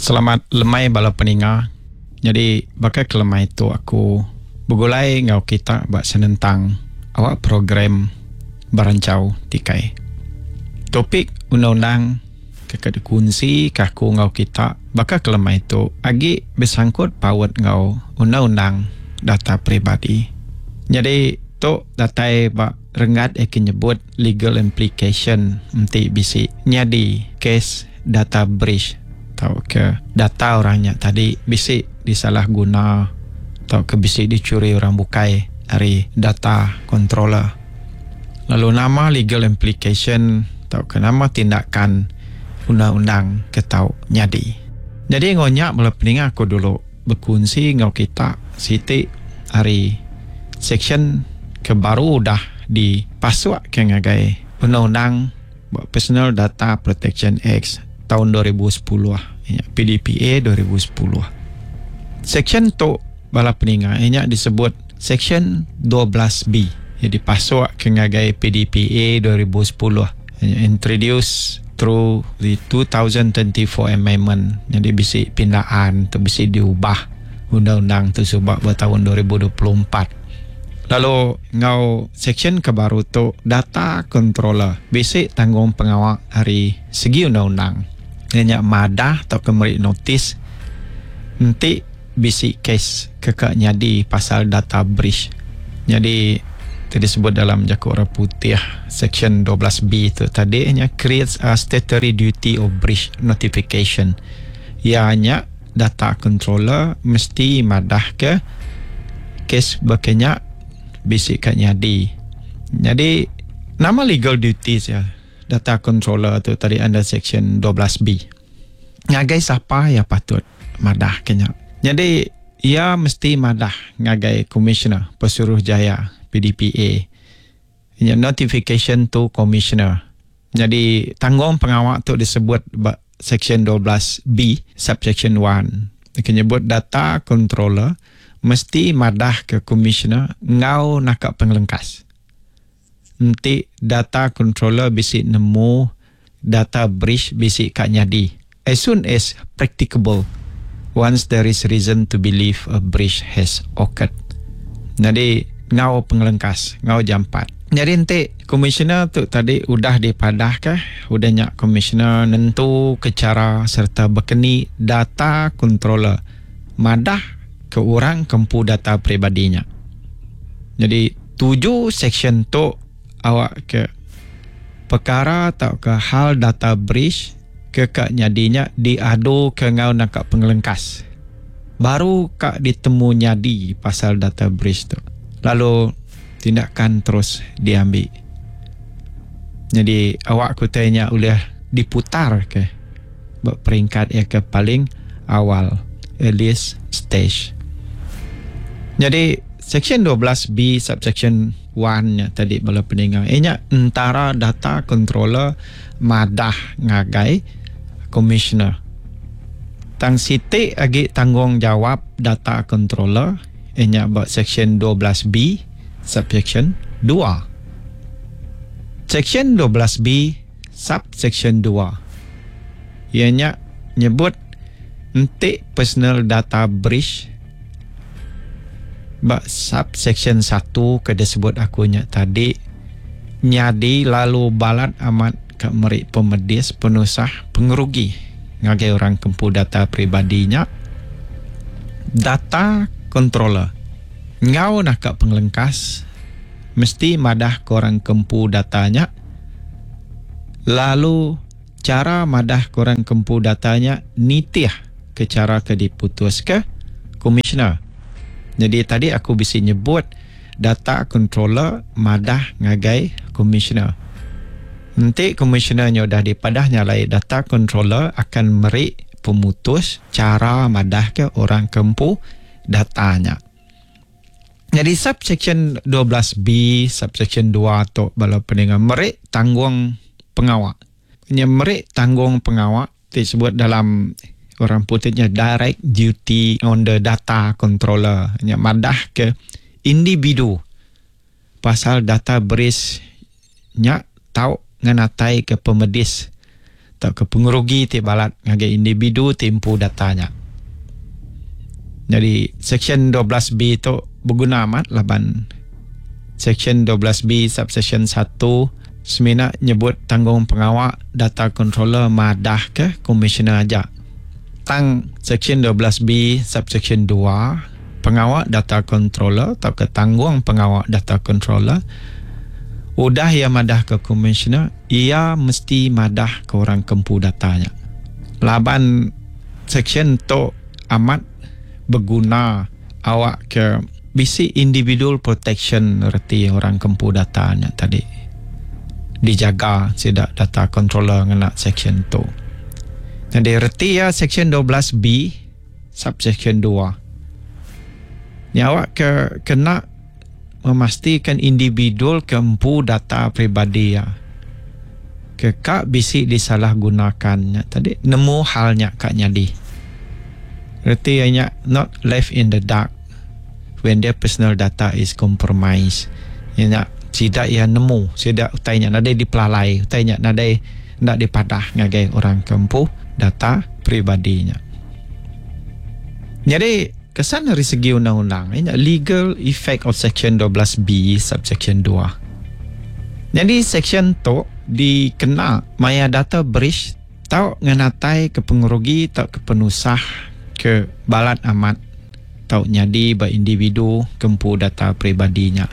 Selamat lemai bala peninga. Nyadi baka ke lemai tu aku begulai enggau kita ba senentang awak program Beranchau Tikai. Topik undang-undang ke ka dikunsi ka aku enggau kita baka ke lemai tu agi besangkut paut enggau undang-undang data peribadi. Nyadi tu datai ba renggat iya ke nyebut legal implication enti bisi nyadi kes data breach tauka data orang nya tadi bisi disalah guna tauka bisi dichuri orang bukai ari data controller. Lalu nama legal implication tauka nama tindakan undang-undang ke tau nyadi. Nyadi enggau nya bala peninga aku dulu bekunsi enggau kita siti ari seksyen ke baru udah dipasukka ngagai undang-undang Ba Personal Data Protection Act taun 2010 iya nya PDPA 2010. Seksyen tu bala peninga iya nya disebut Seksyen 12B iya dipasuk ke ngagai PDPA 2010 iya nya introduce through the 2024 amendment nyadi bisi pindaan tu bisi diubah undang-undang tu suba ba taun 2024. Lalu enggau seksyen ke baru tu, data controller bisi tanggungpengawa ari segi undang-undang iya nya madah tauka meri notis enti bisi kes ke ka nyadi pasal data breach. Nyadi ti disebut dalam jaku orang putih seksyen 12B tu tadi nya creates a statutory duty of breach notification iya nya data controller mesti madahka kes baka nya bisi ka nyadi. Nyadi nama legal duties iya data controller tu tadi under section 12B. Ngagai sapa iya patut madahka nya. Nyadi iya mesti madah ngagai Commissioner Pesuruhjaya PDPA nya notification to Commissioner. Nyadi tanggung pengawa tu disebut ba Seksyen 12B subsection 1 ke nyebut data controller mesti madahka Komisioner enggau naka pengelengkas. Enti data controller bisi nemu data breach bisi ka nyadi as soon as practicable once there is reason to believe a breach has occurred. Nyadi enggau pengelengkas enggau jampat. Nyadi enti komisioner tu tadi udah dipadahka, udah nya komisioner nentuka chara sereta bekeni data controller madah ke orang ke empu data peribadi nya. Nyadi tuju seksyen tu awakka pekara tauka hal data breach ke ka nyadi nya diaduka enggau naka pengelengkas. Baru ka ditemu nyadi pasal data breach tu lalu tindakan terus diambi. Nyadi awak ke utai nya ulih diputar ke ba peringkat iya ke paling awal, earliest stage. Nyadi seksyen 12B subsection 1 nya tadi bala peninga iya nya entara data controller madah ngagai commissioner. Tang siti agi tanggungjawab data controller iya nya ba seksyen 12B subseksyen 2. Seksyen 12B subseksyen 2 iya nya nyebut enti personal data breach ba subseksyen 1 ke disebut aku nya tadi nyadi lalu balat amat ka meri pemedis penusah pengerugi ngagai orang ke empu data peribadi nya. Data controller enggau naka pengelengkas mesti madah ke orang ke empu data nya lalu chara madah ke orang ke empu data nya nitih ke chara ke diputuska komisioner. Nyadi tadi aku bisi nyebut data controller madah ngagai komisioner. Enti komisioner nya udah dipadah nya alai data controller akan meri pemutus chara madahka orang ke empu data nya. Nyadi subsection 12B subsection 2 tu bala peninga meri tanggung pengawa. Nya meri tanggung pengawa ti sebut dalam orang putih nya direct duty on the data controller nya madah ke individu pasal data breach nya tau ngenataika pemedis. tauka pengerugi ti balat ngagai individu ti empu data nya. Nyadi Seksyen 12B tu beguna amat laban Seksyen 12B subseksyen satu semina nyebut tanggungpengawa data controller madahka komisioner aja. Tang Seksyen 12B subseksyen dua pengawa data controller tauka tanggungpengawa data controller udah iya madahka komisioner iya mesti madahka orang ke empu data nya. Laban seksyen tu amat beguna awak ke bisi individual protection reti orang ke empu data nya tadi dijaga sida data controller ngena seksyen tu. Nyadi reti iya seksyen 12 B subseksyen dua nya awak ke kena memastikan individual ke empu data peribadi iya ke ka bisi disalahgunakan nya tadi nemu hal nya ka nyadi. Reti iya nya not left in the dark when their personal data is compromised. Iya nya sida iya nemu sida utai nya nadai dipelalai utai nya nadai enda dipadah ngagai orang ke empu data peribadi nya. Nyadi kesan ari segi undang-undang iya nya legal effect of section 12B subsection dua. Nyadi seksyen tu dikena maya data breach tau ngenataika pengerugi tauka penusah ke balat amat tau nyadi ba individu ke empu data peribadi nya.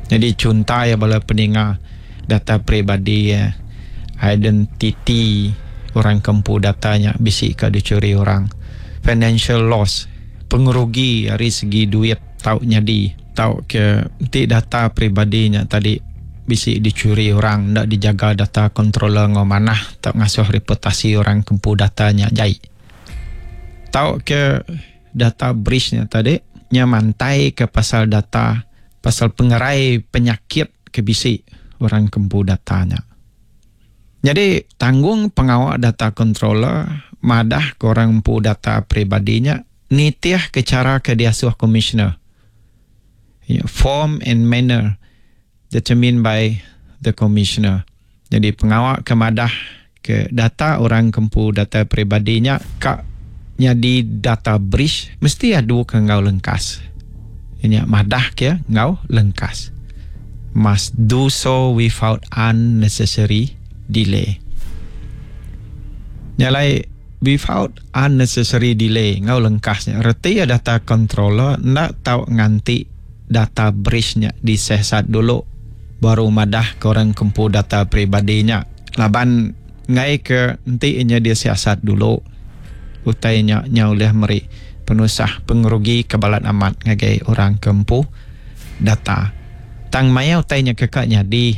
Nyadi chunta iya bala peninga data peribadi iya identiti orang ke empu data nya bisi ka dichuri orang. Financial loss, pengerugi ari segi duit tau nyadi. Tauka enti data peribadi nya tadi bisi dichuri orang enda dijaga data controller enggau manah tau ngasuh reputasi orang ke empu data nya jai. Tauka data breach nya tadi nya mantaika pasal data pasal pengerai penyakit ke bisi orang ke empu data nya. Nyadi tanggung pengawa data controller madah ke orang empu data peribadi nya nitihka chara ke diasuh komisioner, form and manner determined by the commissioner. Nyadi pengawa ke madah ke data orang ke empu data peribadi nya ka nyadi data breach mesti adu ke enggau lengkas. Iya nya madah ke enggau lengkas. Must do so without unnecessary delay. Nya alai without unnecessary delay enggau lengkas nya reti iya data controller enda tau nganti data breach nya disesat dulu baru madah ke orang ke empu data peribadi nya laban enggai ke enti inya disiasat dulu utai nya nya ulih meri penusah pengerugi ke balat amat ngagai orang ke empu data. Tang maya utai nya ke ka nyadi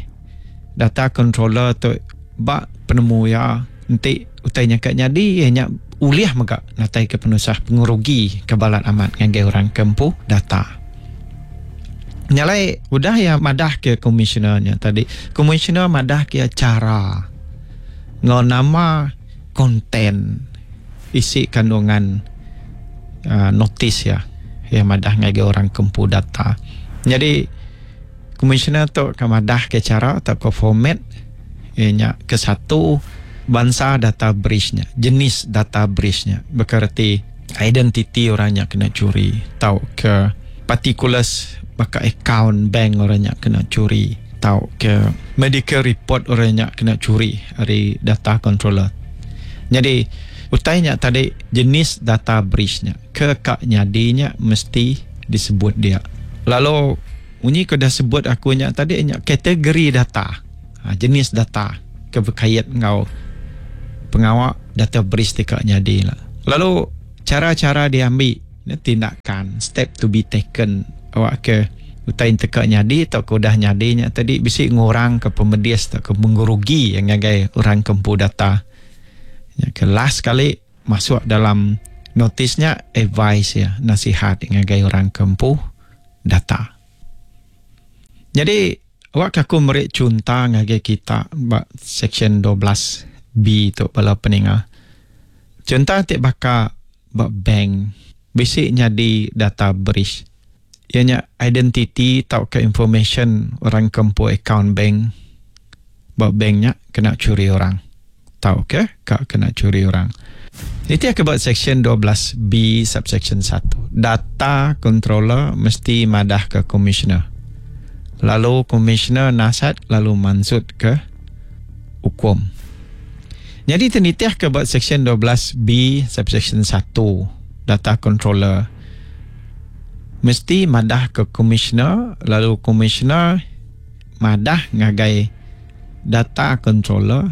data controller tu ba penemu iya enti utai nya ka nyadi iya nya ulih mega natai ke penusah pengerugi ke balat amat ngagai orang ke empu data. Nya alai udah iya madah ke komisioner nya tadi, komisioner madah ke iya chara enggau nama content isi kandungan uhh notis iya, iya madah ngagai orang ke empu data. Nyadi komisioner tu ke madah ke chara tauka format iya nya kesatu bansa data breach nya, jenis data breach nya baka reti identiti orang nya kena churi tauka particulars baka akaun bank orang nya kena churi tauka medical report orang nya kena churi ari data controller. Nyadi utai nya tadi jenis data breach nya ke ka nyadi nya mesti disebut dia. Lalu munyi ke udah sebut aku nya tadi nya kategori data. Jenis data ke bekait enggau pengawa data breach ti ka nyadi ila. Lalu chara-chara diambi tindakan, step to be taken awak ke utai enti ka nyadi tauka udah nyadi nya tadi bisi ngurangka pemedis tauka mengerugi ngagai orang ke empu data. Nya ke last sekali masuk dalam notis nya advice iya nasihat ngagai orang ke empu data. Nyadi Awakka aku meri chunta ngagai kita ba seksyen 12 B tu bala peninga. Chunta ti baka ba bank bisi nyadi data breach iya nya identiti tauka information orang ke empu akaun bank ba bank nya kena churi orang. Tauka ka kena churi orang. Nitih ke ba Seksyen 12 B subseksyen satu, data controller mesti madahka komisioner. Lalu komisioner nasat lalu mansutka ukum. Nyadi ti nitih ke ba Seksyen 12 B subseksyen satu, data controller mesti madahka komisioner lalu komisioner madah ngagai data controller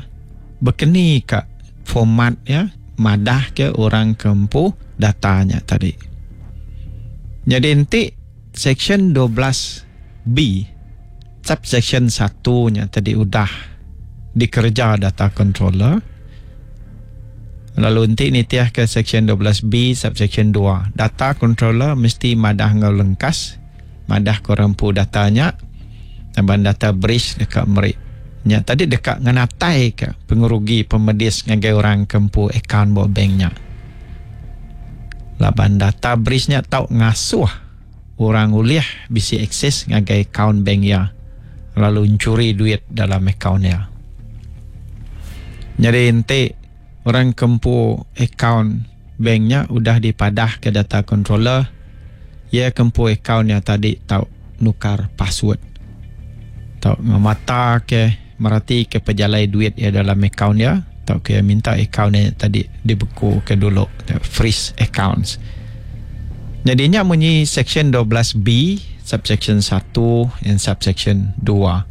bekeni ka format iya madah ke orang ke empu data nya tadi. Nyadi enti section 12 B subsection satu nya tadi udah dikereja data controller lalu enti nitih ke section 12 B subsection dua data controller mesti madah enggau lengkas Madah ke orang empu data nya laban data breach deka meri nya tadi deka ngenataika pengerugi pemedis ngagai orang ke empu akaun ba bank nya. Laban data breach nya tau ngasuh orang ulih bisi akses ngagai akaun bank iya lalu enchuri duit dalam akaun iya. Nyadi enti orang ke empu akaun bank nya udah dipadahka data controller, iya ke empu akaun nya tadi tau nukar password. Tau ngemataka meratika pejalai duit iya dalam akaun iya tauka iya minta akaun iya tadi dibekuka dulu, freeze accounts. Nyadi nya munyi seksyen 12 B subseksyen satu and subseksyen dua.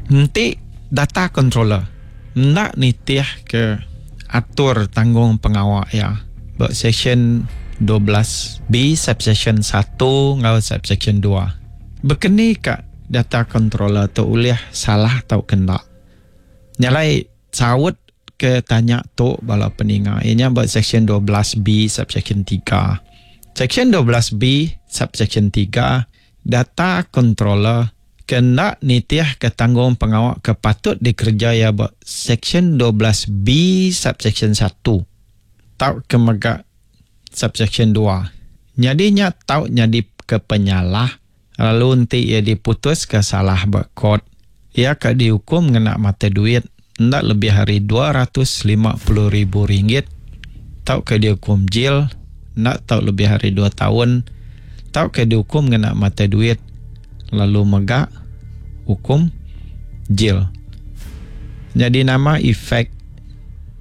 Enti data controller enda nitihka atur tanggung pengawa iya ba Seksyen 12 B subseksyen satu enggau subseksyen dua. Bekeni ka data controller tu ulih salah tauka enda? Nya alai saut ke tanya tu bala peninga iya nya ba Seksyen 12 B subseksyen tiga. Seksyen 12 B subseksyen tiga data controller ke enda nitihka tanggung pengawa ke patut dikereja iya ba Seksyen 12 B subseksyen satu tauka mega subseksyen dua. Nyadi nya tau nyadika penyalah lalu enti iya diputuska salah ba kort, iya ka diukum ngena mata duit enda lebih ari 250 ribu ringgit tauka diukum jil enda tau lebih ari dua taun tauka diukum ngena mata duit lalu mega ukum jil. Nyadi nama efek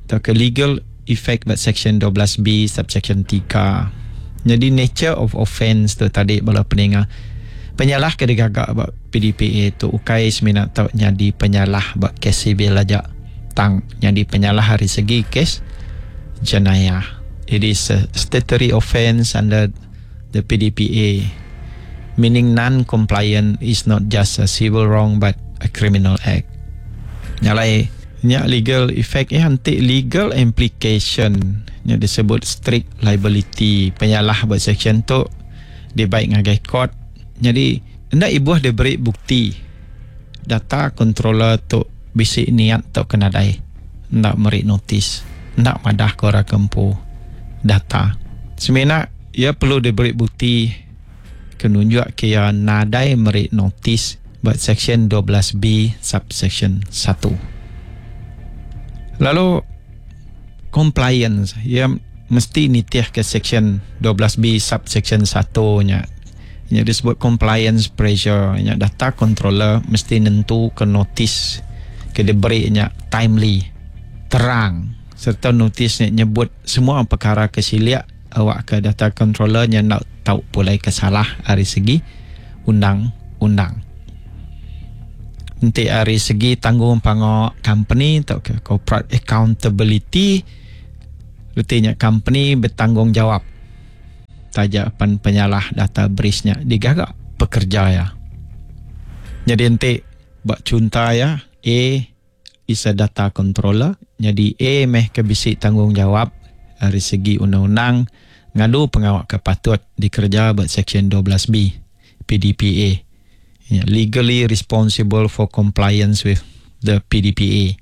tauka legal effect ba seksyen 12 B subseksyen tiga. Nyadi nature of offence tu tadi bala peninga. Penyalah ke digaga ba PDPA tu ukai semina tau nyadi penyalah ba kes sivil aja tang nyadi penyalah ari segi kes jenayah. It is a statutory offence under the PDPA meaning non-compliant is not just a civil wrong but a criminal act. Nya alai nya legal effect iya enti legal implication nya disebut strict liability penyalah ba section tu dibai ngagai court nyadi enda ibuh diberi bukti data controller tu bisi niat tauka nadai enda meri notis enda madah ke orang ke empu data semina iya perlu diberi bukti ke nunjuk ke iya nadai meri notis ba seksyen 12 B subseksyen satu. Lalu compliance iya mesti nitihka seksyen 12 B subseksyen satu nya. Nya disebut compliance pressure nya data controller mesti nentuka notis ke diberi nya timely, terang sereta notis nya nyebut semua pekara ke silik awakka data controller nya enda tau pulai ke salah ari segi undang-undang. Enti ari segi tanggung pangawa company tauka corporate accountability reti nya company betanggungjawab. Taja pan penyalah data breach nya digaga pekerja iya. Nyadi enti ba chunta iya A is a data controller nyadi A meh ke bisi tanggungjawab ari segi undang-undang ngadu pengawa ke patut dikereja ba Seksyen 12 B PDPA. Nya legally responsible for compliance with the PDPA.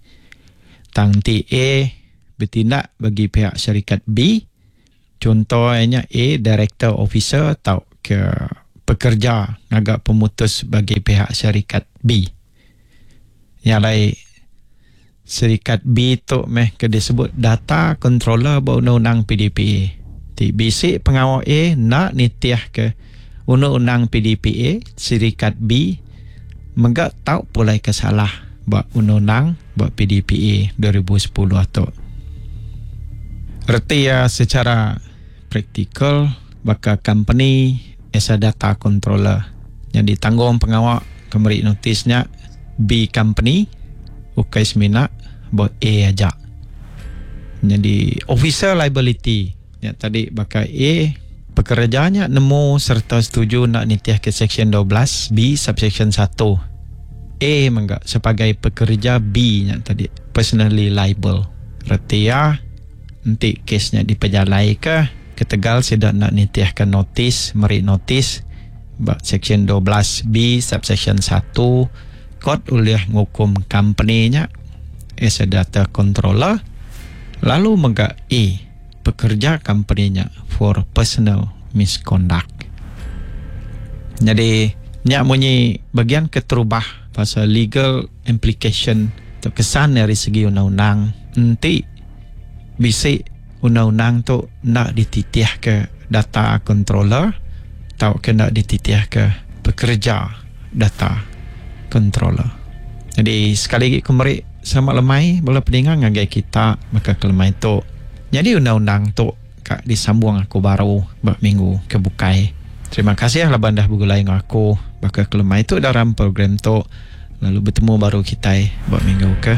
Tang enti A betindak bagi pihak syarikat B, Chunto iya nya A director officer tauka pekerja ngaga pemutus bagi pihak syarikat B. Nya alai Serikat B tu meh ke disebut data controller ba undang-undang PDPA. Ti bisi pengawa A enda nitihka undang-undang PDPA, serikat B mega tau pulai ke salah ba undang-undang ba PDPA 2010 tu. Reti iya secara praktikal baka kompeni as a data controller nyadi tanggung pengawa ke meri notis nya B company ukai semina ba A aja. Nyadi officer liability nya tadi baka A pekereja nya nemu sereta setuju enda nitihka seksyen 12 B subseksyen satu. A mega sebagai pekereja B nya tadi personally liable. Reti iya enti kes nya dipejalaika ketegal sida enda nitihka notis meri notis ba seksyen 12 B subseksyen satu kot ulih ngukum kompeni nya as a data controller lalu mega A pekerja kompeni nya for personal misconduct. Nyadi nya munyi bagian keterubah pasal legal implication atau kesan ari segi undang-undang enti bisi undang-undang tu enda dititihka data controller tauka enda dititihka pekereja data controller. Nyadi sekali agi ku meri selamat lemai bala peninga ngagai kita baka ke lemai tu. Nyadi undang-undang tu ka disambung aku baru ba minggu ke bukai. Terima kasih laban dah begulai enggau aku baka ke lemai tu dalam program tu lalu betemu baru kitai ba minggu ke.